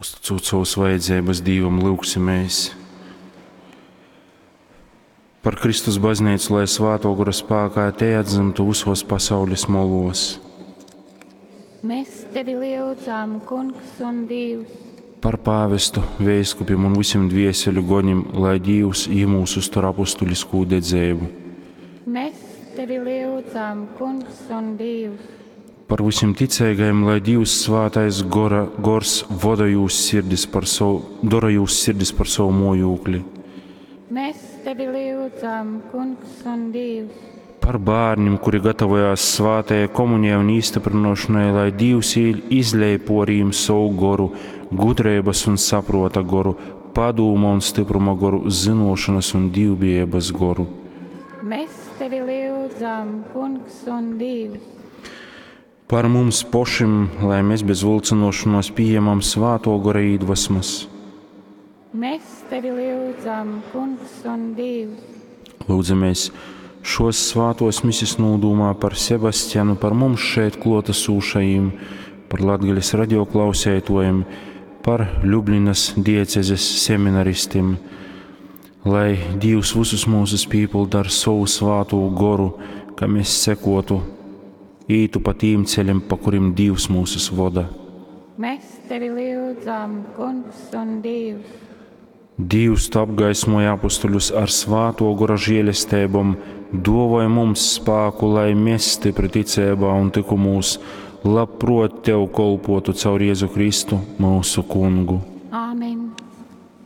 Uzticūt sovas vajadzeibas Dīvam, lyugsimēs par Kristus bazneicu, lai Svātō Gora spākā tei atdzymtu vysos pasaules moluos. Mēs tevi lyudzam, Kungs un Dīvs. Par pāvestu, veiskupim un vysim dvieseļu gonim, lai Dīvs jimūs uztur apustuliskū dedzeibu. Mēs tevi lyudzam, Kungs un Dīvs. Par vysim ticeigajim, lai Dīvs svātais gora, gors voda jūs sirdis par savu, dora jūs sirdis par savu mojūkli. Mēs tevi lyudzam, Kungs un Dīvs. Par bērnim, kuri gatavojās svātajai komunijai un īstiprinošanai, lai Dīvs izlej por jim savu goru, gudrības un saprota goru, padūma un stypruma goru, zynošanas un dīvbijības goru. Mēs tevi lyudzam, Kungs un Dīvs. Par mums pošim, lai mēs bez vilcinošanos pieņemam svāto gora iedvesmas. Mēs tevi lyudzam, Kungs un Dīvs. Lūdzamies šos svātos misis nūdūmā par Sebastianu, par mums šeit klotasūšajiem, par Latgales radioklausētojiem, par Ļublinas diecezes seminaristim, lai Dīvs visus mūsus pīpilda ar savu svātū goru, ka mēs sekotu, ītu pa tīm ceļiem, pa kurim Dīvs mūsus voda. Mēs tevi lyudzam, Kungs un Dīvs. Dīvs tu apgaismoja apustuļus ar svāto gora žēlestībom, dāvāja mums spāku, lai mēs stipri ticībā un tykumūs labprot tev kolpotu caur Jēzu Kristu, mūsu kungu.